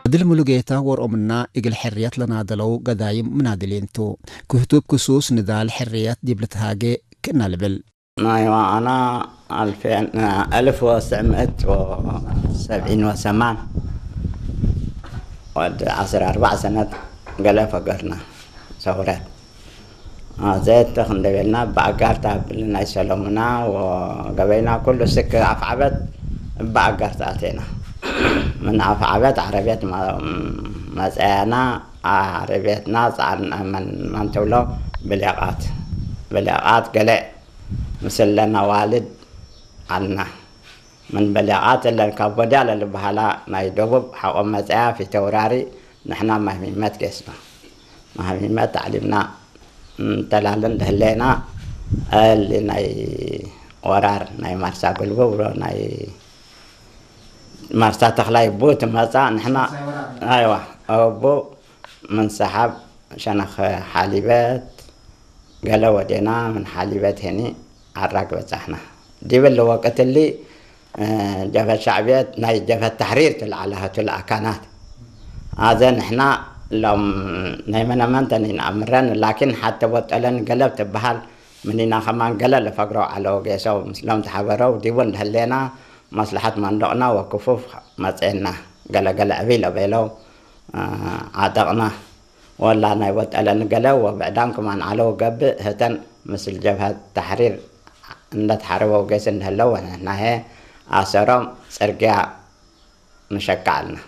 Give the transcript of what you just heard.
ድል ሙሉጌታ ወርኦምና እግል ሕርየት ለናደለው ገዳይም ምናድሊንቱ ክህቱብ ክሱስ ንዳል ሕርየት ዲብልትሃጌ ክእና ልብል። ናይዋ ኣና ኣልፌን ኣልፍ ወስዕ ምእት ወሰብዒን ወሰማን ወድ ዓስር ኣርባዕ ሰነት ገለ ፈገርና ሰውረት ዘየተ ክንደቤልና ብኣጋርታ ብልና ይሰለሙና ወገበይና ኩሉ ስክ ኣፍዓበት ብኣጋርታ ኣቴና ምን ኣፍዓበት ዓረቤት መፀያና ዓረቤትና ፃዕና መን ተብሎ ብሌቓት ብሌቓት ገለ ምስለና ዋልድ ኣልና ምን በሌቓት እለን ካብ ቦዲያ ለልበሃላ ናይ ደቡብ ሓቆም መፀያ ፊተውራሪ ንሕና ማህሚመት ጌስና ማህሚመት ታዕሊምና እንተላለን ደህለና እል ናይ ወራር ናይ ማርሳ ጉልብብ ናይ ማርሳ ተኽላይ ቡ ትመፃ ንሕና ኣይዋ ቡ ምን ሰሓብ ሸነኽ ሓሊበት ገለ ወዴና ምን ሓሊበት ሄኒ ዓራግ በፃሕና ዲብል ወቅትሊ ጀፈት ሻዕብየት ናይ ጀፈት ተሕሪር ትልዓላሃቱ ልኣካናት ኣዘ ንሕና ሎም ናይ መነመንተን ይንኣምረን ላኪን ሓተ ወጠለን ገለብ ትበሃል ምኒና ከማን ገለ ለፈግረው ዓለው ጌሰው ምስሎም ተሓበረው ዲቡ እንደህሌና መስልሓት መንደቕና ወክፉፍ መፀና ገለገለ ዕብይ ለቤለው ዓጠቕና ወላ ናይ ወጠለን ገለ ወብዕዳን ክማን ዓለው ገብእ ህተን ምስል ጀብሀት ተሕሪር እንደተሓረበው ጌስ እንደህለው ወንሕናሄ ኣሰሮም ፅርግያ ንሸካልና